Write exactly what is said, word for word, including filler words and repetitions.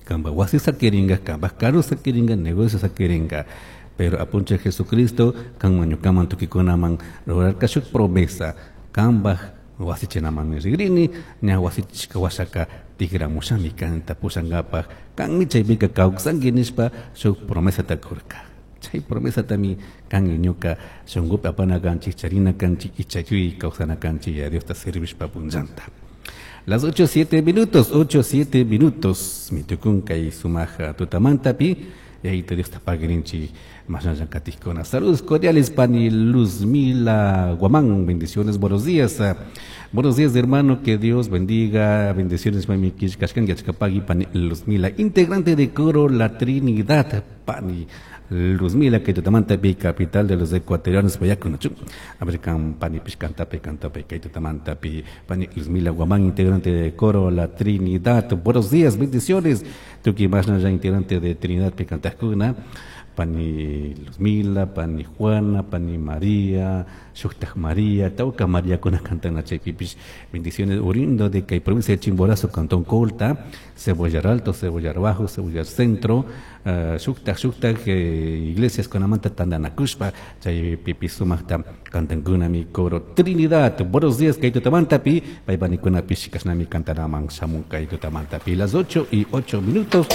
Kambaj wasi saquiringa, kambaj carro saquiringa, negocio saquiringa. Pero Apunchij Jesucristo kanman ñukaman tukuykunaman rurarka shuk promesa kambaj wasichinamanmi rigrini, ña wasichishka washaka tigramushami kanta pushankapaj, kanmi chaypika kawsanki nishpa shuk promesata kurka. Chay promesatami kan ñuka shunkupi apana kanchik, charina kanchik y chayuy kawsana kanchik ya Diosta servishpa punllanta. Las ocho siete minutos, ocho siete minutos, mitukun kay sumaja tutamantapi, Yayito Diosta pagirinchi masnalla katikuna. Saludos cordiales, pani Luzmila Guamán, bendiciones, buenos días. Buenos días, hermano, que Dios bendiga, bendiciones, mami Kishkashkan, Yachkapagi, pani Luzmila, integrante de coro La Trinidad, pani Luzmila, que tutamantapi, capital de los ecuatorianos, Payacunachu. A ver, kan pani pishkantapi, kantapi, kay tutamantapi, pani Luzmila Guamán, integrante de coro La Trinidad. Buenos días, bendiciones. Tuki masna ya integrante de Trinidad Picantajuna, pani Luzmila, pani Juana, pani María, Shuktaj María, Tauca María kuna cantana chaypipish. Bendiciones oriundo de kay provincia de Chimborazo, Cantón Colta, Cebollar Alto, Cebollar Bajo, Cebollar Centro, uh, Shuktaj, Shuktaj, eh, iglesias kunamanta tandanakushpa, chaypipi sumajta cantankunami coro Trinidad. Buenos días, kay tutamantapi, paypanikunapish kashnami cantanaman shamun kay tutamantapi. Las ocho y ocho minutos.